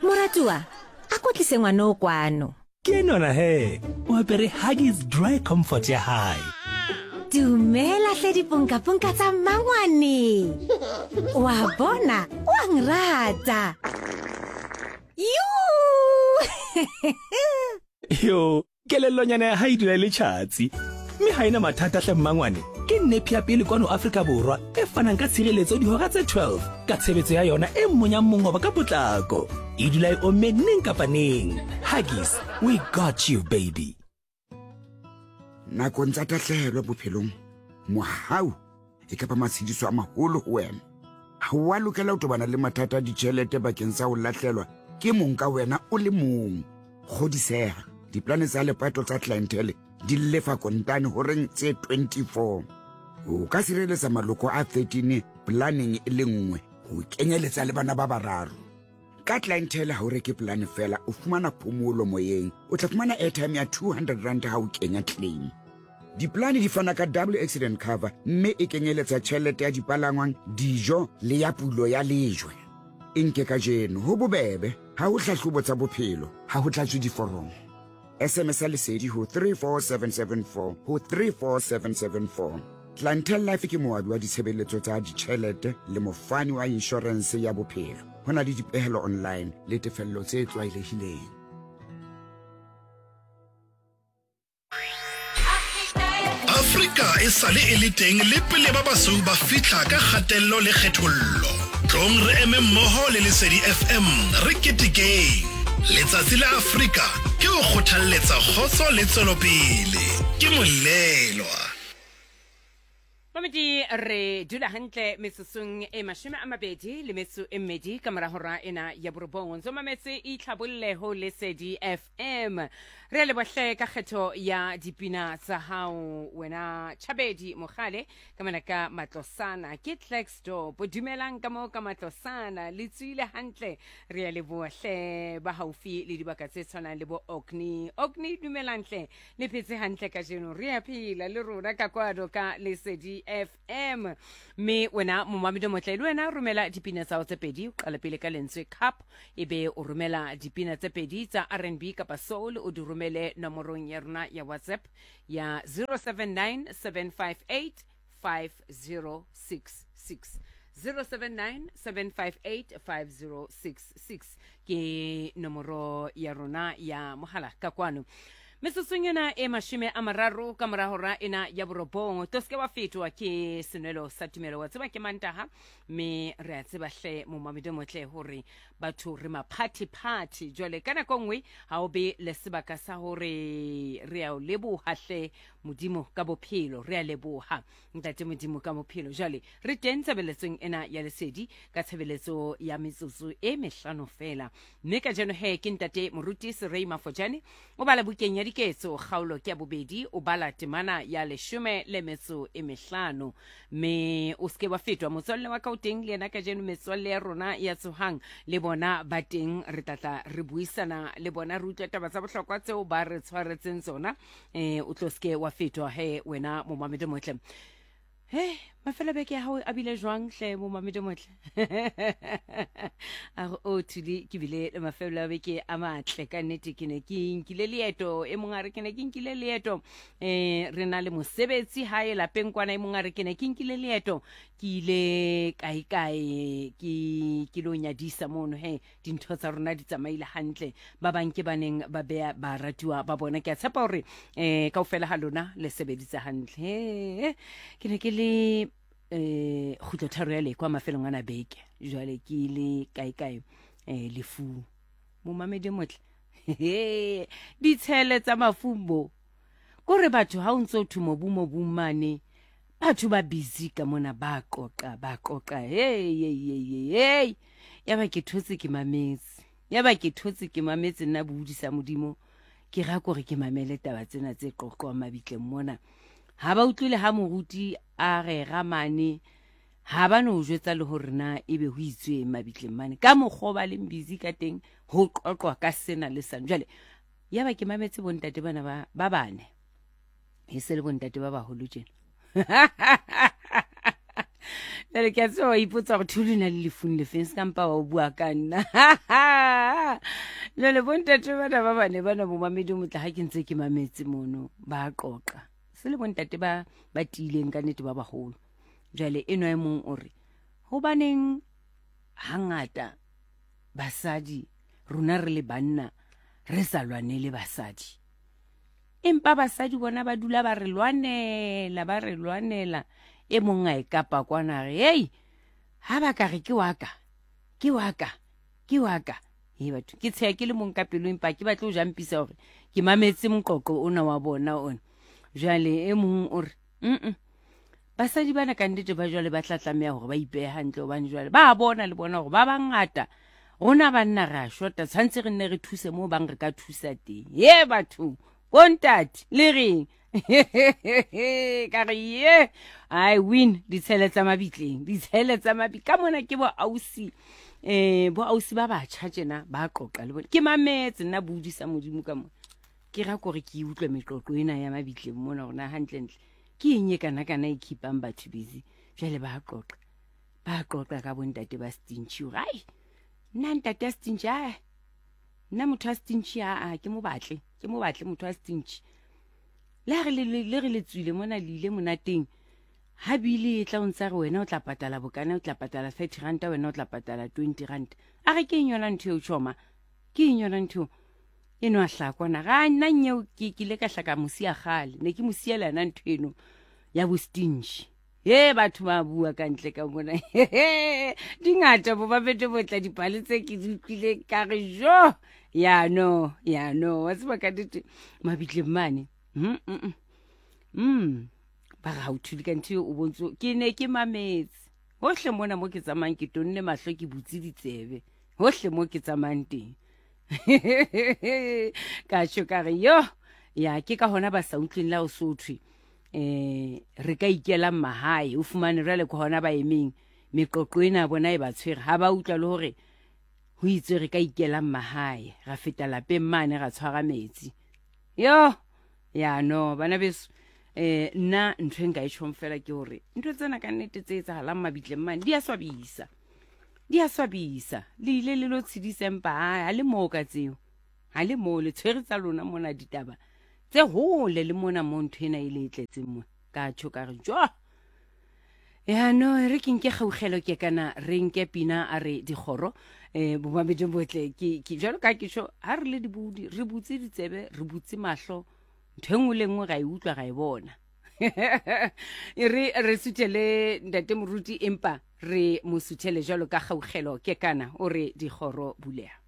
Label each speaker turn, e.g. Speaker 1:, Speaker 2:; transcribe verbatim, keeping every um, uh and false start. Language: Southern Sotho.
Speaker 1: Moratuwa, a ko tlise ngwana o kwano.
Speaker 2: Ke enona he, o apere Huggies Dry Comfort ya hae.
Speaker 1: Dumela hle diponkaponka tsa mmangwane. Wa bona, wa nrata. Yoo!
Speaker 2: Yo, kelellonyana ya hae e dula e le tjhatsi. Mme ha ena mathata hle mmangwane. Ke nepi ya pele kwano Afrika Borwa e fanang ka tshireletso dihora tse twelve ka tshebetso ya yona e monyang mongobo ka potlako. E dula e omme neng kapa neng. Huggies, we got you baby.
Speaker 3: Nakong tsa tahlehelo bophelong, mohau e kapa matshediso a maholo ho wena. Ha o a lokela ho tobana le mathata a ditjhelete bakeng sa ho lahlelwa ke mong ka wena o le mong. Kgodiseha, diplane tsa lepato tsa clientele di lefa kontane horeng tse twenty-four. O ka sireletsa maloko a thirteen planeng e le nngwe ho kenyeletsa le bana ba bararo. Ka clientele ha o reke plane fela, o fumana phomolo moyeng. O tla fumana airtime ya two hundred rand ha o kenya claim. Diplane di fana ka double accident cover mme e kenyeletsa tjhelete ya dipalangwang, dijo le ya pulo ya lejwe. E nke kajeno ho bobebe, ha ho hlahlobo tsa bophelo, ha ho tlatswe diforomo. S M S ya Lesedi ho three four seven seven four ho three four seven seven four. Clientele Life ke moabi wa ditshebeletso tsa ditjhelete le mofani wa inshorense ya bophelo. Ho na le dipehelo online le tefello tse tlwaelehileng.
Speaker 4: Afrika e sale e le teng le pele ba basweu ba fihla ka kgatello le kgethollo. Tlong re eme mmoho le Lesedi F M re ketekeng. Letsatsi la Afrika ke ho kgothalletsa kgotso le tswelopele. Ke molelwa.
Speaker 5: Mamedi re dula hantle metsotsong e mashome a mabedi le metso e mmedi ka mora hora ena ya borobong. Ntso mametse itlhabolle ho Lesedi F M. Re le bohle ka kgetho ya dipina tsa hao wena Chabedi Mogale ka mona ka Matlosana ke Klerksdorp. Dumelang ka mo ka Matlosana le tswile hantle. Re le bohle ba haufi le dibaka tse tshwanang le bo Orkney. Orkney dumelang hle le phetse hantle kajeno. Re a phela le rona ka kwano ka Lesedi F M. Mme wena momamedi motle le wena romela dipina tsa hao tse pedi, o qala pele ka lentswe cup ebe o romela dipina tse pedi tsa R and B kapa soul, o di romele nomorong ya rona ya WhatsApp ya zero seven nine seven five eight five zero six six. zero seven nine seven five eight five zero six six ke nomoro ya rona ya mohala ka kwano. Metsotsong ena e mashome a mararo ka mora hora ena ya borobong, to seke wa fetwa ke senwelo sa tumelo. Wa tseba ke Mantaha mme re a tseba hle momamedi motle hore batho re maphathiphathi. Jwale ka nako nngwe ha o be le sebaka sa hore re a o leboha hle Modimo ka bophelo, re a leboha Ntate Modimo ka bophelo. Jwale re teng tshebeletsong ena ya Lesedi ka tshebeletso ya metsotso e mehlano fela. Mme kajeno he ke Ntate Moruti Serei Mafojane o bala bukeng ya Diketso kgaolo ke ya bobedi, o bala temana ya leshome le metso e mehlano. Mme o seke wa fetwa motswalle wa ka o teng le yena kajeno, metswalle ya rona ya tsohang le bona ba teng, re tlatla re buisana le bona, re utlwa taba tsa bohlokwa tseo ba re tshwaretseng tsona. Eh o tlo seke wa fetwa he wena momamedi motle. He mafelo beke ya hao a bile jwang hle momamedi motle? A re o thuli ke bile le mafelo a beke a matle ka nnete. Ke ne ke nkile leeto, e mong a re ke ne ke nkile leeto eh re na le mosebetsi hae lapeng kwana, e mong a re ke ne ke nkile leeto ke ile kae kae ke ke lo nyadisa mono. He dintho tsa rona di tsamaile hantle, ba bang ke baneng ba beya ba ratuwa ba bona. Ke a tshepa hore eh kaofela ha lona le sebeditse hantle. He ke ne ke le eh kgutlo tharo ya lekwa mafelong ana beke, jwale ke ile kae kae eh lefu momamedi motle. Ditshele tsa mafumbo kore batho ha o ntso thu mobu mobu mane, batho ba busy ka mona ba qoqa ba qoqa. Hey hey hey hey ya ba ke thotse ke mametse, ya ba ke thotse ke mametse nna bodisa Modimo ke ra kore ke mamele taba tsena tse qoqwang mabitleng mona. Ha ba utlwile ha moruti a re ramane, ha ba no jwetsa le hore na ebe ho itswe mabitleng mane ka mokgwa ba leng busy ka teng ho qoqwa ka sena le sane. Jwale ya ba ke mametse bontate bana ba ba bane, e se le bontate ba baholo tjena. Jwale ke a tseba wa ipotsa hore Thuli na le lefung lefeng, se ka mpa wa o bua ka nna. Jwale bontate bana ba bane bana bomamedi motla ha ke ntse ke mametse mono ba qoqa. Se le bontate ba ba tiileng ka nnete ba baholo. Jwale enwa e mong o re hobaneng hangata basadi rona re le banna re sa lwanele basadi, empa basadi bona ba dula ba re lwanela ba re lwanela. E mong a e kapa kwana re hei ha ba ka re ke wa ka ke wa ka ke wa ka. He batho ke tsheya ke le mong ka pelo, empa ke batle ho jampisa hore ke mametse moqoqo ona wa bona ona. Jwale e mong o re mm basadi bana ka nnete ba jwale ba tla tlameha hore ba ipehe hantle, hobane jwale ba bona le bona hore ba bangata rona banna re a shota, tshwantse re nne re thuse moo bang re ka thusa teng. Ye batho bontate le reng? Ka re ye I win ditshele tsa mabitleng, ditshele tsa mabi ka mona ke bo ausi eh bo ausi ba batjha tjena ba qoqa le bona. Ke mametse nna bodisa Modimo ka mona, ke ra kore ke utlwe meqoqo ena ya mabitleng mona hore na hantlentle ke eng e kana kana e keepang batho busy. Jwale ba qoqa ba qoqa ka bontate ba stingy hore ai nna ntate a stingy, ai nna motho a stingy a ke mo batle ke mo batle motho a stingy. Le ha re le re le tswile mona le ile monateng, ha bile e tla o ntsa re wena o tla patala bokana, o tla patala thirty ranta, wena o tla patala twenty ranta. A re ke eng yona ntho eo tjhoma, ke eng yona ntho eno a hlakwana ga nna nyeo ke ke ile ka hlaka mosia kgale, ne ke mosiela yona ntho eno ya bo stingy. Ye batho ba bua ka ntle ka mona dingata bo ba bete botla dipale tse ke di utlwile ka re jo ya no ya no wa tseba ka nnete mabitleng mane. Mm mm mm ba ga o thule ka ntho o bontso ke ne ke mametse hohle mona mo ke tsamayang ke tonne mahlo ke butse ditsebe hohle mo ke tsamayang teng. Ka tjho ka re yo ya ke ka hona ba sa utlweng la o sothwe eh re ka ikela mahae o fumane jwale ke hona ba emeng meqoqo ena bona e ba tshwere ha ba utlwa le hore ho itswe re ka ikela mahae ra feta lapeng mane ra tshwara metsi. Yo ya no bana beso eh nna ntho e nka e tjhong fela ke hore ntho tsena ka nnete tse etsahalang mabitleng mane di a swabisa, di a swabisa. Le ile le lo tshedisa empa ha le moo ka tseo, ha le moo le tshwere tsa lona mona ditaba tse hole le mona mo ntho ena e le e tletseng mo. Ka tjho ka re jo ya no re ke nke kgaugelo ke kana re nke pina a re dikgoro eh bomamedi botle ke ke jwalo ka ke tjho ha re le dibudi re butse ditsebe re butse mahlo ntho e nngwe le nngwe ra e utlwa ra e bona. E re re suthele ntate moruti empa re mo suthele jwalo ka kgaugelo ke kana o re dikgoro buleha.